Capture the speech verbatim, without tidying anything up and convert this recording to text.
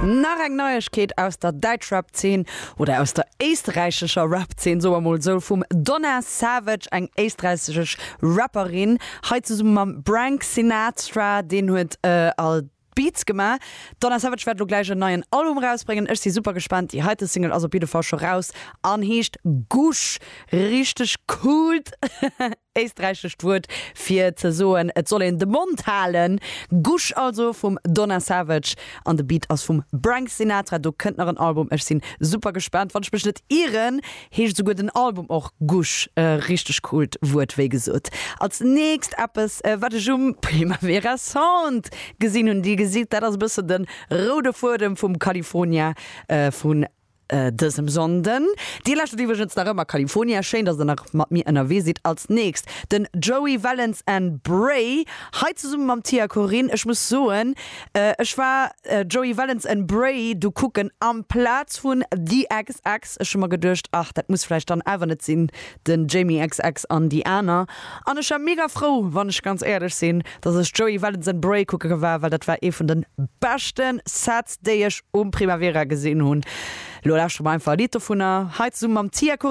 Nach eng Neiegkeet aus der Däitsch-Rap-Zeen oder aus der éisträichescher Rap-Zeen, soe mer mol sou, vum Donna Savage, eng éisträichesch Rapperin, hei zesumme mam Brank Sinatra, deen huet äh, all Beats gemaach. Donna Savage wäert lo gläich en neien Album rausbréngen. Ech si super gespaant. Déi heite Single ass op jidde Fall scho raus an heescht Gusch. Richteg coolt éisträichescht Wuert fir ze soen, et soll een de Mond halen. Gusch also vum Donna Savage an de Beat ass vum Brank Sinatra. Do kënnt nach en Album. Ech sinn super gespaant. Wann ech mech net ieren, heescht souguer den Album och Gusch. Äh, richteg coolt Wuert, wéi gesot. Als nächst eppes, äh, wat ech um Primavera Sound gesinn hunn, dir gesitt, dat ass e bëssen de roude Fuedem vum California äh, vun äh, dësem Sonnden. Dir lauschtert iwwregens nach ëmmer California. Schéin, dass der nach mat mir ënnerwee sidd. Als nächst den Joey Valence and Brae. Hei zesumme mam Tia Corinne. Ech muss soen, äh, ech war äh, Joey Valence and Brae du kucken amplaz vun The X X. Ech hu mer geduecht, ach, dat muss vläicht dann awer net sinn, den Jamie X X an déi aner. An ech war mega frou, wann ech ganz éierlech sinn, dass ech Joey Valence and Brae kucke war, well dat war ee vun de beschte Sets, déi ech um Primavera gesinn hunn. Lo lauschtere mer einfach e Lidd dovunner. Hei zesumme mam Tia Corinne.